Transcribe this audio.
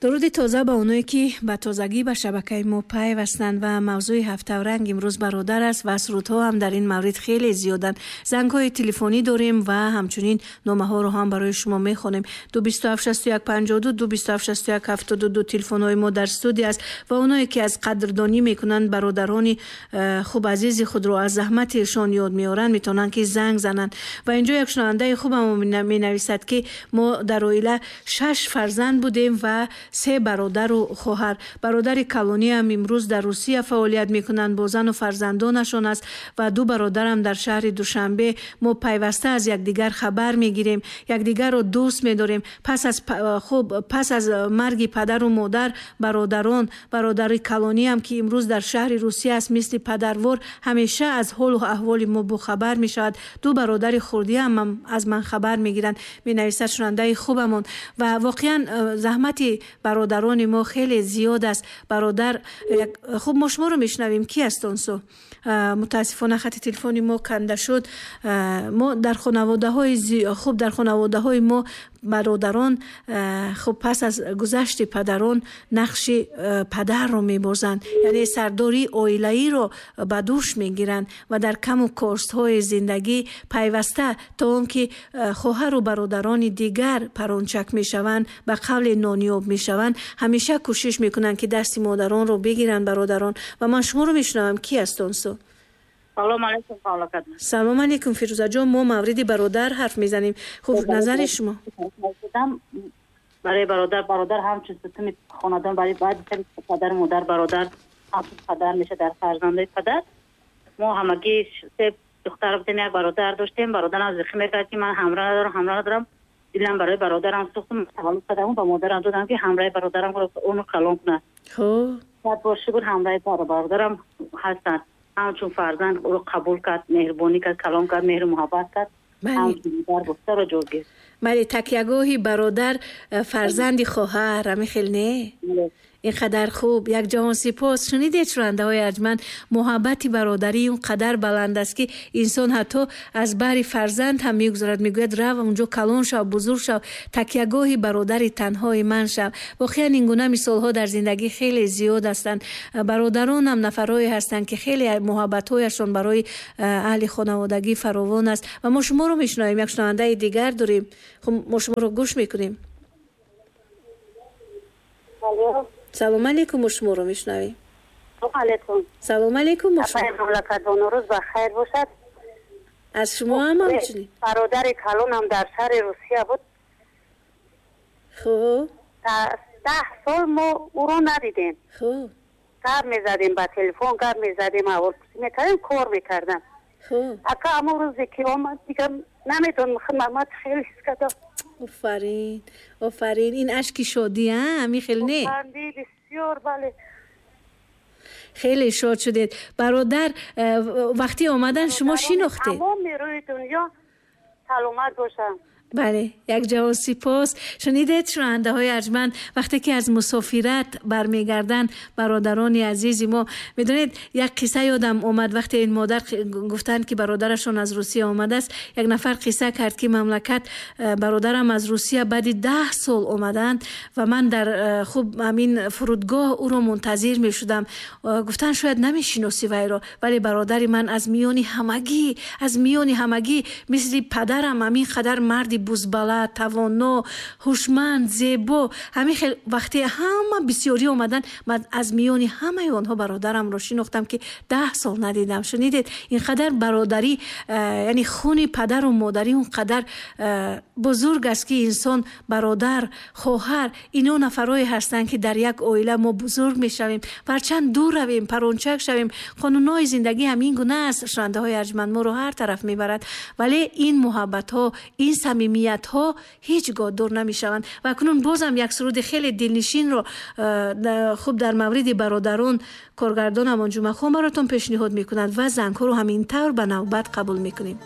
Дуруди тоза ба оное ки ба тозагӣ ба шабакаи мо пайвастанд ва мавзӯи ҳафтавранг имрӯз бародар аст ва сурудҳо ҳам дар ин маврид хеле зиёданд. Зангҳои телефонӣ дорем ва ҳамчунин номаҳоро ҳам барои шумо мехонем. 227 61 52, 227 61 72 телефонҳои мо дар студия аст ва оное ки аз қадрдонӣ мекунанд бародарони хуб азизи худро, аз заҳмати эшон ёд меоранд, метавонанд ки занг зананд. Ва инҷо як шунавандаи хубам менависад, ки мо дар оила шаш фарзанд будем ва се бародару хоҳар. Бародари калониам имрӯз дар Русия фаъолият мекунанд, бо зану фарзандонашон аст ва ду бародарам дар шаҳри Душанбе. Мо пайваста аз якдигар хабар мегирем, якдигарро дӯст медорем. Пас аз хуб, пас аз марги падару модар бародарон, бародари калониам, ки имрӯз дар шаҳри Русия аст, мисли падарвор ҳамеша аз ҳолу аҳволи мо бохабар мешавад. Ду бародари хурдиам аз ман хабар мегиранд, менависад шунандаи хубамон. Ва воқеан заҳмати бародарони мо хеле зиёд аст. Бародар, хуб, мо шуморо мешунавем. Ки аст он су? Мутаассифона, хати телефони мо канда шуд. Мо дар хонаводаҳои, хуб, дар хонаводаҳои мо бародарон, хуб, пас аз гузашти падарон нақши падарро мебозанд, яъне сардории оилаиро ба дӯш мегиранд ва дар каму костҳои зиндагӣ пайваста, то он ки хоҳару бародарони дигар парончак мешаванд, ба қавле нониёб мешаванд, ҳамеша кӯшиш мекунанд, ки дасти модаронро бигиранд бародарон. Ва ман шуморо мешунавам. Ки аст он су? Салом алейкум, мамлакат. Салом алейкум, Фирӯзаҷон. Мо мавриди бародар ҳарф мезанем. Хуб, назари шумо? Барои бародар, бародар ҳамчун сутуни хонадон, барои баъди падару модар бародар ҳамчун падар меша дар фарзандаи падар. Мо ҳамагӣ се духтар будем, як бародар доштем. Бародарам зихӣ мекард, ки ман ҳамроҳ надорам, ҳамроҳ надорам. Дилам барои бародарам сӯхтум. Таваллуд кардам, ба модарам додам, ки ҳамроҳи бародарам ӯно калон кунад. Сад бор шукр, ҳамроҳи бародарам ҳастанд. Ҳамчун фарзанд ӯро қабул кард, меҳрубонӣ кард, калон кард, меҳру муҳаббат кард. Модар ҷо. Бале, такягоҳи бародар фарзанди хоҳар, ҳамин хел не? Ин қадар хуб, як ҷаҳон сипос. Шунидед, шунавандаҳои арҷманд, муҳаббати бародарӣ он қадар баланд аст, ки инсон ҳатто аз баҳри фарзанд ҳам мегузарад, мегӯяд: «Рав, унҷо калон шав, бузург шав, такягоҳи бародари танҳои ман шав». Воқеан, ин гуна мисолҳо дар зиндагӣ хеле зиёд ҳастанд. Бародаронам нафарҳое ҳастанд, ки хеле муҳаббатҳояшон барои аҳли хонаводагӣ фаровон аст. Ва мо шуморо мешунавем. Як шунавандаи дигар дорем. Хуб, мо шуморо гӯш мекунем. Салом алейкум, мо шуморо мешунавем. Алейкум. Салом алейкум. Мамлакатбону, рӯз ба хайр бошад. Аз шумо ҳам ҳамчунин. Бародари калонам дар шаҳри Русия буд. 10 сол мо ӯро надидем. Гап мезадем ба телефон, гап мезадем, аҳволпурсӣ мекардем, кор мекардам. Ака, ҳамон рӯзе ки омад, дигар намедонам, ман хеле ҳис кардам. Офарин, офарин! Ин ашки шодӣ, ҳамин хел не? Бисёр, бале. Хеле шод шудед. Бародар вақти омадан шумо шинохтед? Тамоми рӯи дунё саломат бошанд. Бале, як ҷаҳон сипос. Шунидед, шунавандаҳои арҷманд, вақте ки аз мусофират бармегарданд бародарони азизи мо. Медонед, як қисса ёдам омад. Вақте ин модар гуфтанд, ки бародарашон аз Русия омадааст, як нафар қисса кард, ки мамлакат, бародарам аз Русия баъди 10 сол омаданд ва ман дар хуб, ҳамин фурудгоҳ ӯро мунтазир мешудам. Гуфтанд, шояд намешиносӣ вайро, вале бародари ман аз миёни ҳамагӣ, аз миёни ҳамагӣ мисли падарам ҳамин қадар марди бузбала, тавоно, ҳушманд, зебо. Ҳамин хел вақте ҳама бисёрӣ омаданд, ман аз миёни ҳамаи онҳо бародарамро шинохтам, ки 10 сол надидам. Шунидед, ин қадар бародарӣ, яъне хуни падару модарӣ он қадар бузург аст, ки инсон, бародар, хоҳар, ино нафарое ҳастанд, ки дар як оила мо бузург мешавем. Ҳарчанд дур равем, парончак шавем, қонунҳои зиндагӣ ҳамин гуна аст, шунавандаҳои арҷманд, моро ҳар тараф мебарад, вале ин муҳаббатҳо, ин самимиятҳо ҳеҷ гоҳ дур намешаванд. Ва акнун бозам як суруди хеле дилнишинро, хуб, дар мавриди бародарон коргардонамон Ҷумъахон баротон пешниҳод мекунад ва зангҳоро ҳамин тавр ба навбат қабул мекунем.